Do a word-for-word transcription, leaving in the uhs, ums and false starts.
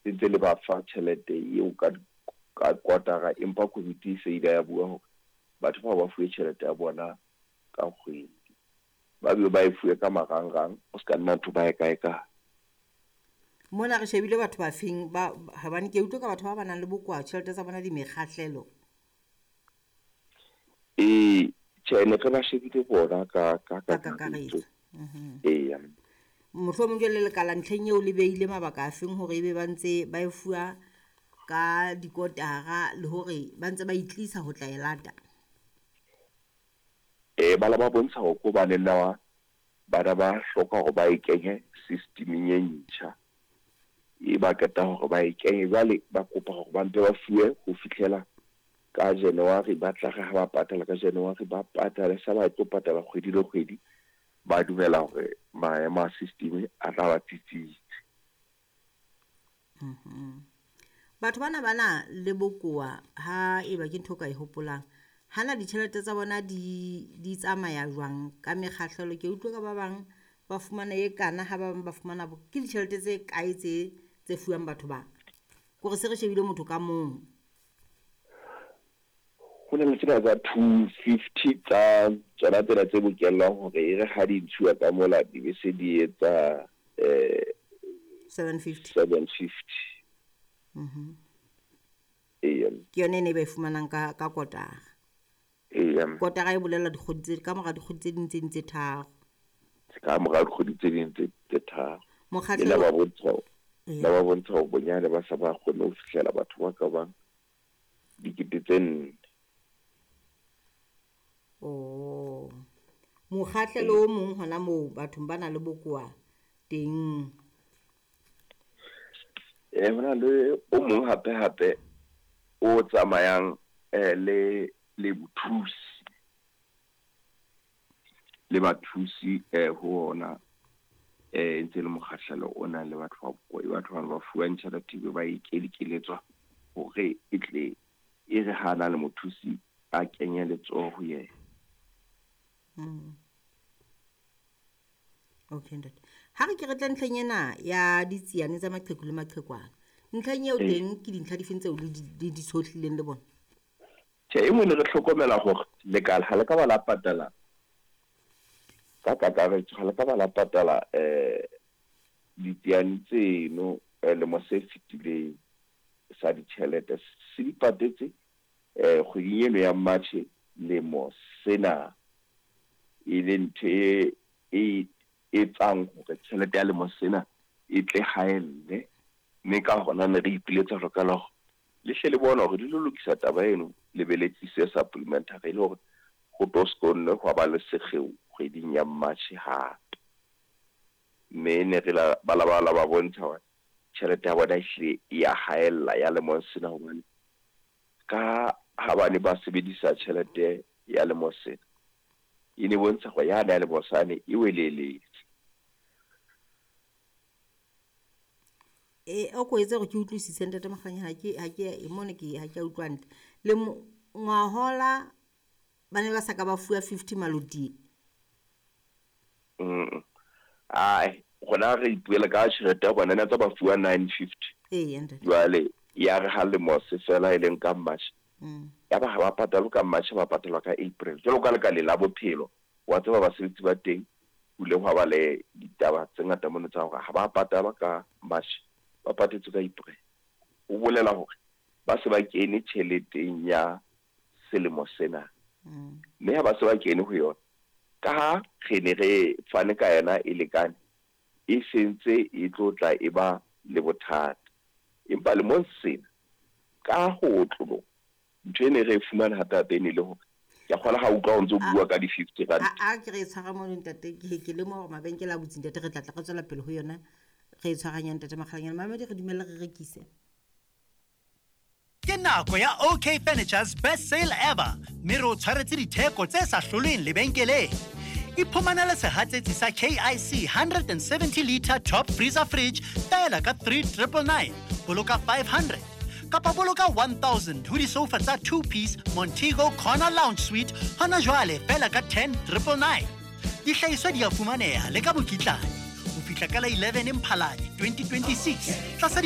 Le ntse le ba fa tjhelete eo ka ka kotara, empa komiti e se ile ya bua hore batho bao ba fuwe tjhelete ya bona ka kgwedi. Ba be ba e fuwe ka marangrang, o ska nna ntho ba e kae kae. Mona re shebile batho ba feng ba hobane ke utlwe ka batho ba ba nang le bokowa tjhelete tsa bona di mekgahlelo. Ee, tjhe, ne re ba shebile bona ka ka ka kakaretso. Eya. Mohlomong jwale lekala ntlheng eo le beile mabaka a feng hore ebe ba ntse ba e fuwa ka dikotara le hore ba ntse ba itlisa ho tla e lata? Eh, ba la ba bontsha hore ko ba na bana ba hloka hore ba e kenye systemeng e ntjha. E ba qeta hore ba e kenye, jwale ba kopa hore ba mpe ba fuwe ho fihlela ka January. Ba tla re ha ba patala ka January, ba patale sa ba tlo patala kgwedi le kgwedi. Ba dumela hore maemo a system a tla ba tsitsitse. Batho bana ba na le bokowa ha eba ke ntho o ka e hopolang, hana ditjhelete tsa bona di di tsamaya jwang ka mekgahlelo? Ke utlwe ka ba bang ba fumana e kana, ha ba bang ba fumana bo. Ke ditjhelete tse kae tse tse fuwang batho ba? Kore se re shebile motho ka mong. Ho na le tsena tsa two fifty tsa tsona tsena tse bokellwang hore e re ha di ntshuwa ka mola di be se di etsa eh seven fifty. seven fifty. Eya. Ke yone e ne ba e fumanang ka ka kotara. Eya. Kotara e bolela dikgwedi tse ka mora dikgwedi tse ding tse ding tse tharo. Ka mora dikgwedi tse ding tse tse tharo. Mokgahlelo Le la ba bontsha Eya. la ba bontsha hore bonyane ba sa ba kgone ho fihlela batho ba ka bang dikete tse nne. Oh. Mokgahlelo o mong hona moo bathong ba nang le bokowa teng. Eh, hona le o mong hape hape o tsamayang eh le le bothusi le bathusi eh ho ona eh ntse le mokgahlelo o nang le batho ba bokowa. Batho bana ba fuwang tjhelete ebe ba e keleletswa hore e tle e re ha na le mothusi a kenye letsoho ho yena. Mm. Okay ntate. Ha re ke re tle ntlheng ena ya ditsiane tsa maqheku le maqhekwana. Ntlheng eo Ee. teng ke dintlha dife tseo le di di di tshohlileng le bona? Tjhe, e nngwe ne re hlokomela hore lekala ha le ka ba la patala ka kakaretso, ha le ka ba la patala eh ditsiane tseno eh, lemo se fetileng sa ditjhelete se di patetse eh kgweding eno ya March lemo sena, e le ntho e e etsang hore tjhelete ya lemo sena e tle haelle. Mme ka hona ne re ipiletsa hore ka la hore le hle le bone hore di lo lokisa taba eno, le be le tlise supplementary e le hore ho tlo se nne hwa ba le sekgeo kgweding ya March hape. Mme ne re la ba la ba la ba bontsha hore tjhelete ya bona ehlile e ya haella ya lemong sena, hobane ka ha ba ne ba sebedisa tjhelete ya lemo sena e ne bontsha hore yane ya lemo sane e weleletse. E o ko etse hore ke utlwisise ntate Mokganya, ha ke ha ke e mone ke ha ke a utlwa hantle. Le ngwahola ba ne ba sa ka ba fuwa fifty maloti. Mm. Ai, rona re ipuela ka tjhelete ya bona ne tsa ba fuwa nine fifty. Eya ntate. Jwale ya re ha lemo se fela e leng ka March. Mm. Ya ba ha ba patalwe ka March, ba patalwa ka April. Jwalo ka lekaleng la bophelo, wa tseba basebetsi ba teng ho ile hwa ba le ditaba tse ngata mono tsa hore ha ba patalwa ka March, ba patetswe ka April. Ho bolela hore ba se ba kene tjheleteng ya selemo sena. Mm. Mme ha ba se ba kene ho yona, ka ha re ne re fane ka yona e lekane, e sentse e tlo tla e ba le bothata. Empa lemong sena ka ho otloloha, ntho e ne re e fumana hape hape e ne le hore ke a kgolwa ha utlwa o ntso bua ka di-fifty rand. A a ke re e tshwara mono ntate, ke ke lemoha hore mabenkele a butse ntate, re tla tla re tswela pele ho yona re e tshwaranya ntate Makgalanyane. Mamedi re dumelle re rekise. Ke nako ya OK Furniture's best sale ever, mme re o tshwaretse ditheko tse sa hlolweng lebenkeleng. Iphumanele sehatsetsi sa K I C hundred and seventy liter top freezer fridge feela ka three triple nine, boloka five hundred. Kapa boloka one thousand ho disofa tsa two piece Montego Corner Lounge Suite hona jwale feela ka ten triple nine. Dihlahiswa di a fumaneha le ka mokitlane ho fihla ka la eleven Mphalane twenty twenty-six tlasa di